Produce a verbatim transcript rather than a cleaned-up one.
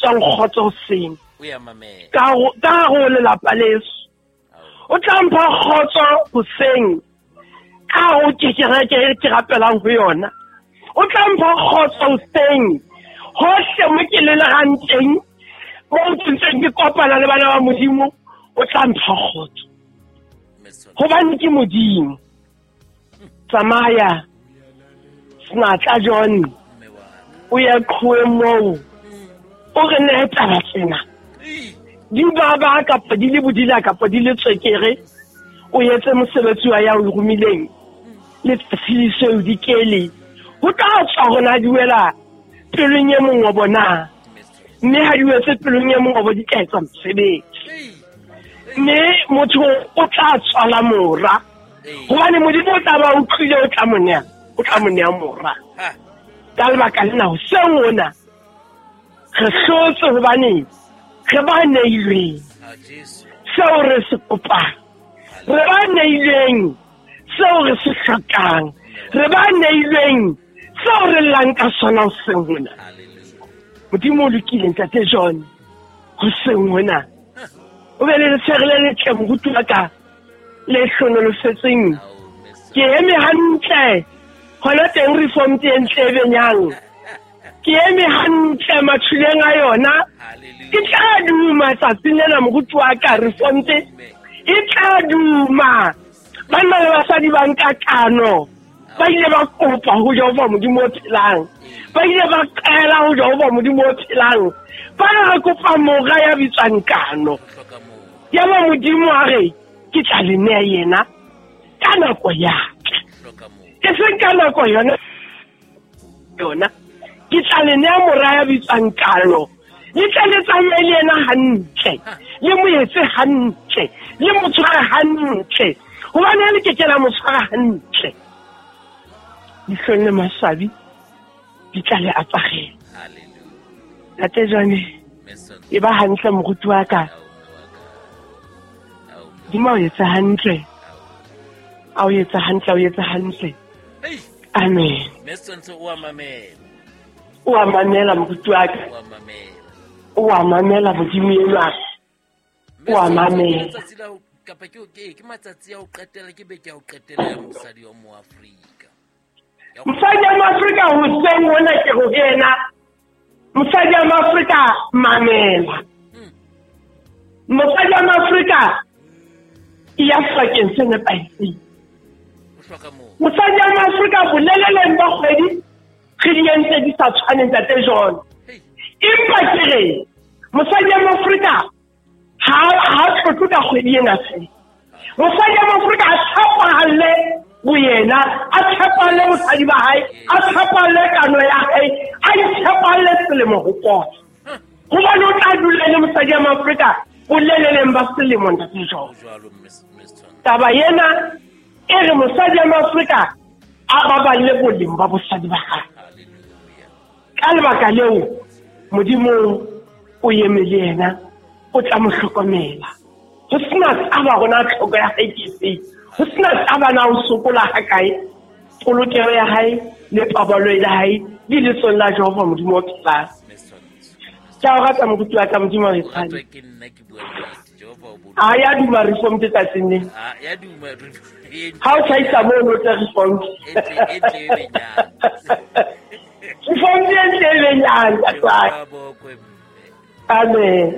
bitswang kgotso hoseng ka ka ho lelapa leso. O tla mpha kgotso hoseng ka ho ke kereke e ke rapelang ho yona. O tla mpha kgotso hoseng hohle mo ke lelegang teng, mo ke ntseng ke kopana le bana ba Modimo, o tla mpha kgotso hobane ke Modimo. Tsamaya senatla John, o ye qhoeng moo, o re nehe taba tsena di baba kapa di le bodila kapa di le tswekere, o etse mosebetsi wa ya o romileng letsatsi le seo di kele. Ho tla tswa hona di wela pelong e mong wa bona, mme ha di wetse pelong e mong wa bo di tla etsa mosebetsi, mme motho o tla tswala mora hobane Modimo o tla ba utlwile, o tla mo nea, o tla mo nea mora. Ka lebaka lena hoseng ona re hlotse hobane re ba neilweng seo re se kopang, re ba neilweng seo re se hlokang, re ba neilweng seo re llang ka sona hoseng hona. Modimo o lokile ntate John, hoseng hona o be le letshehare le letle moruti wa ka le hlonolofetseng. Ke eme hantle hona teng reform e ntle e benyang, ke eme hantle mathuleng a yona. Ke tla duma tsatsing lena moruti wa ka, reform e tla duma. Banna le basadi ba nka kano, ba ile ba kopa ho Jehova Modimo o phelang, ba ile ba qela ho Jehova Modimo o phelang, ba re kopa mora ya bitswang kano. Yaba Modimo a re ke tla le nea yena ka nako ya ka, e seng ka nako yona yona. Ke tla le nea mora ya bitswang kano, le tle le tsamaye le yena hantle, le mo etse hantle, le mo tshware hantle, hobane le ke ke la mo tshwara hantle, dihlong le maswabi di tla le aparela. Ntate John, e ba hantle moruti wa ka, Modimo o etsa hantle, a o etsa hantle, a o etsa hantle. Amen. O a mamela, o a mamela moruti wa ka, o a mamela Modimo enwa, o a mamela. Kapa ke ke matsatsi a ho qetela, ke beke ya ho qetela ya mosadi wa Moafrika. Mosadi wa Moafrika hoseng hona ke ho yena. Mosadi wa Moafrika mamela. Mosadi wa Moafrika e ya sebakeng se nepahetseng. Mosadi wa Moafrika boleleleng ba kgwedi re di entse di sa tshwaneng ntate John. Empa ke re mosadi wa Moafrika ha ha tlotle ka kgwedi ena fela. Mosadi wa Moafrika a tshepahalle boyena, a tshepahalle bosadi ba hae, a tshepahalle kano ya hae, a itshepahalle selemo ho pota. Hobane o tla dula le mosadi wa Moafrika boleleleng ba selemo ntate John. Taba ena e re mosadi wa Moafrika a baballe boleng ba bosadi ba hae. Ka lebaka leo Modimo o eme le yena, o tla mo hlokomela. Ho sena taba rona tlhoko ya hae ke efe, ho sena taba na o sokola ha kae, polokelo ya hae le paballo ya hae di letsong la Jehova Modimo o phelang. Ke a o rata moruti wa ka, Modimo o etshane. A ya duma reform ke tsatsing le. Ha o tjhaisa mono o tla reform. Reform e ntle e benyang, ntate. Amen.